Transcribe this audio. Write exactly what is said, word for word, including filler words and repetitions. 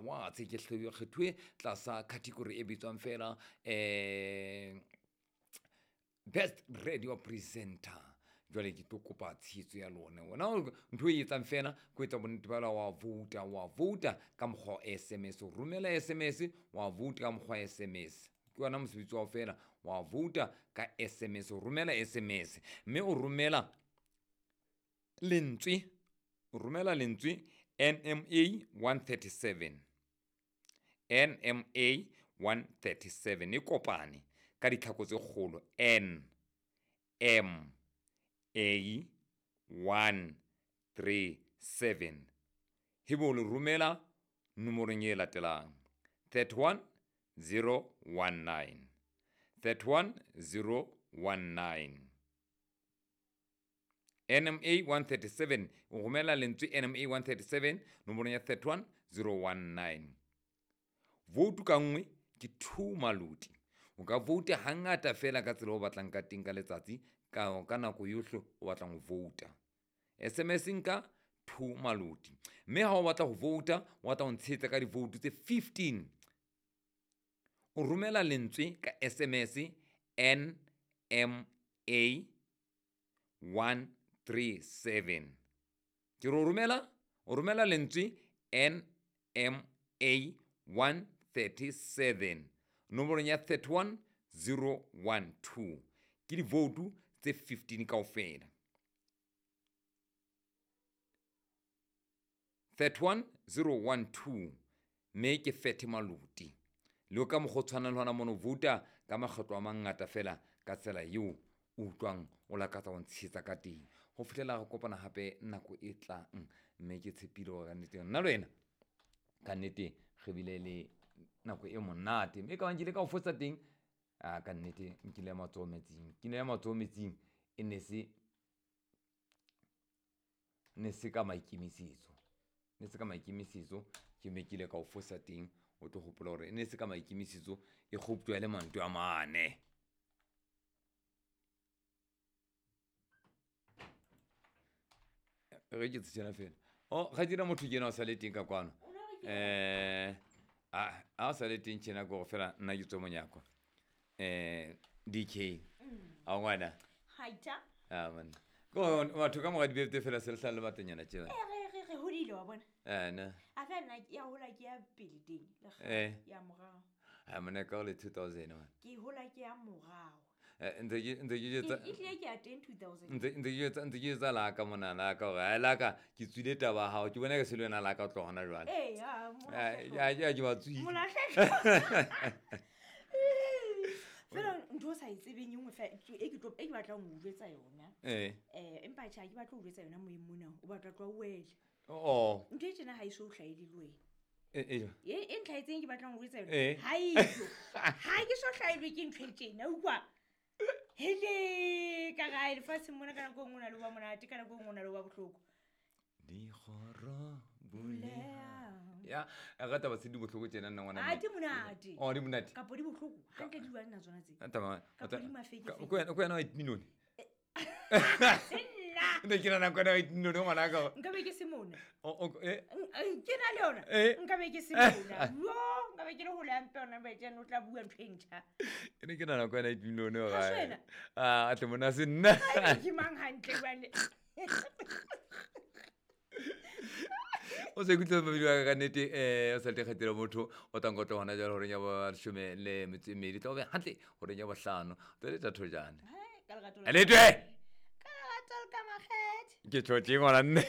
Awards. Ke kgethuwe tlasa category e bitswang fela eh Best Radio Presenter. Jwale ke tlo kopa tshehetso ya lona. Wena ntho e etsang fela ke etsa bonnete ba wa vouta, wa vouta ka mokgwa wa S M S. O romela S M S, wa vouta ka mokgwa wa S M S. Ke yona mosebetsi wa fela, wa vouta ka S M S, o romela S M S. Mme o romela lentswe, o romela lentswe N M A one thirty-seven. N M A one thirty-seven e kopane ka ditlhako tse kgolo N M A one three seven. Hebo le romela nomorong e latelang thirty-one zero one nine. thirty-one zero one nine. N M A one thirty-seven. O romela lentswe N M A one thirty-seven nomorong ya thirty-one zero one nine. Vote ka nngwe ke two maluti. O ka vote hangata fela ka tsela o batlang ka teng ka letsatsi, ka ka nako yohle o batlang ho vouta. S M S nka two maluti. Mme ha o batla ho vouta, o batla ho ntshetsa ka di-vote tse fifteen. O romela lentswe ka S M S N M A one three seven. Ke re o romela, o romela lentswe N M A one thirty-seven. Nomorong ya thirty-one zero one two. Ke di-vote tse fifteen kaofela. thirty-one zero one two. Mme ke Fethe Maluti. Le ka mokgwa o tshwanang le hona mono vouta ka makgetlo a mangata fela ka tsela eo o utlwang o lakatsa ho ntshehetsa ka teng. Ho fihlela re kopana hape nako e tlang. Mme ke tshepile hore ka nnete nna le wena ka nnete re bile le nako e monate. Mme ka bang ke ile ka o fosa teng, a ka nnete nkile ya matsoho metsing. Ke ne ya matsoho metsing e ne se, ne se ka maikemisetso. Ne se ka maikemisetso ke me ke ile ka o fosa teng. O tlo hopola hore e ne se ka maikemisetso e kgoptjwa le mantswe a mane. Re ke tsena fela. Oh, ga dira motho ke ena o sa le teng ka kwano. Eh, a, a sa le teng tjena ke hore fela nna ke tswe monyako. Eh, D K. A ngwana. Haita. Ah man. Go batho ka mora dibete fela se le hlale batanyana tjena. Eh, re, re, re hodile wa bona. Eh, na. A fa nna ya hola ke ya pele teng, le kgale, Eh. ya morao. Ah, mona ka le two thousand man. Ke hola ke ya morao. Eh, ntse ke, ntse ke jetsa E tlile ke ya teng two thousand. Ntse, ntse ke jetsa, ntse ke jetsa la ka mona, la ka hore, ai, la ka, ke tswile taba ya hao, ke bona ke se le wena la ka tloha hona jwale. Eh, ya, Eh, ya, ya, ke ba tswile. Molahlehlo. Fela ntho o sa e tsebeng e nngwe fela, e ke tlo, e ke batlang ho o jwetsa yona. Eh. Eh, empa tjhe, ha ke batle ho jwetsa yona moyeng mona, o batla tloha o wele. Oh. Ntho e tjena ha e so hlahele le wena. Eh, eh. E, e ntlhaetseng ke batlang ho jwetsa yona. Eh. Ha eyo. Ha ke so hlahelwe ke ntho e tjena, utlwa? Hele, ka gae lefatsheng mona ka nako e nngwe o na le ho ba monate, ka nako e nngwe o na le ho ba bohloko. Dikgoro buleha. Ya, a rata ba se di bohloko tjena nna ngwana Ah, mme. di monate. Oh, di monate. Kapo di bohloko. Hantle di jwang nna tsona tse? Ah, tama. Kapo di mafeke Ka, feke. ko wena, ko wena wa eight million. Se nna. Ne ke nahana ko wena wa eight million ngwana ka. Nka be ke se mona. O, o, eh. N-, eh, ke na le yona. Eh. Nka be ke se mona. Yo, nka be ke le hole hampe yona, ba tjena o tla bua ntho e ntjha. Ke ne ke nahana ko wena eight million Ha hore. se wena? Ah, a tle mona se nna. Ai, ke mang hantle jwale? O se ikutlwe mabidi wa ka ka nnete, eh, o sa le kgethile motho, o tla nkotla hona jwale horeng ya bo leshome le metso e mmedi, tla o be hantle horeng ya bohlano. Tla le thato jane. Hai, ka lerato la Letwe! Ka lerato le ka makgethe. Ke tjho tje ngwana nne.